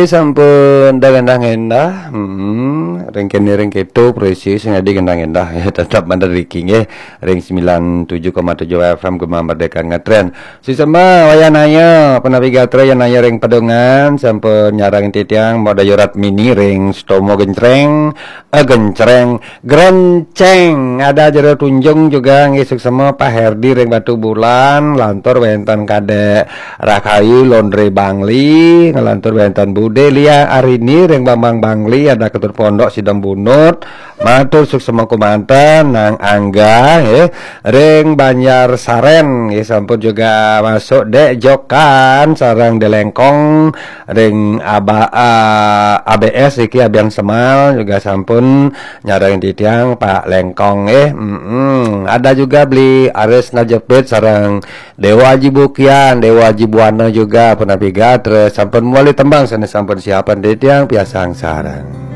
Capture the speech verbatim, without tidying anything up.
Sampun dah gendah-gendah. Hmm, ring kene ring keto, presi sing adi gendah-gendah. Ya, tetap mandar riki nggih. Ring sembilan tujuh koma tujuh F M Gema Merdeka ngetren. Suksma wayah naya, punapi gatra, wayah naya ring pedungan, sampun nyarengin titiang Mbok Dayu Ratmini ring Setomo Gencreng, eh, Gencreng, Grenceng. Ada Jero Tunjung juga nggih, suksma Pak Herdi ring Batubulan, lantur wenten Kadek Rahayu Laundry Bangli, ngelantur wenten Bude Lia Arini ring Bambang Bangli, ada Ketut Pondok Sidembunut, matur suksma kumanten, Nang Angga nggih, ring Banjar Saren nggih, sampun juga masuk Dek Jokan sareng Delengkong ring Aba, ah, A B S iki Abian Semal juga sampun nyarengin titiang Pak Lengkong nggih. Mm-mm. Ada juga Beli Aris Najepit sareng Dewa Aji Bukian, Dewa Aji Buana juga punapi gatra, sampun mawali tembang sane sampun siapan titiang piarsang sareng.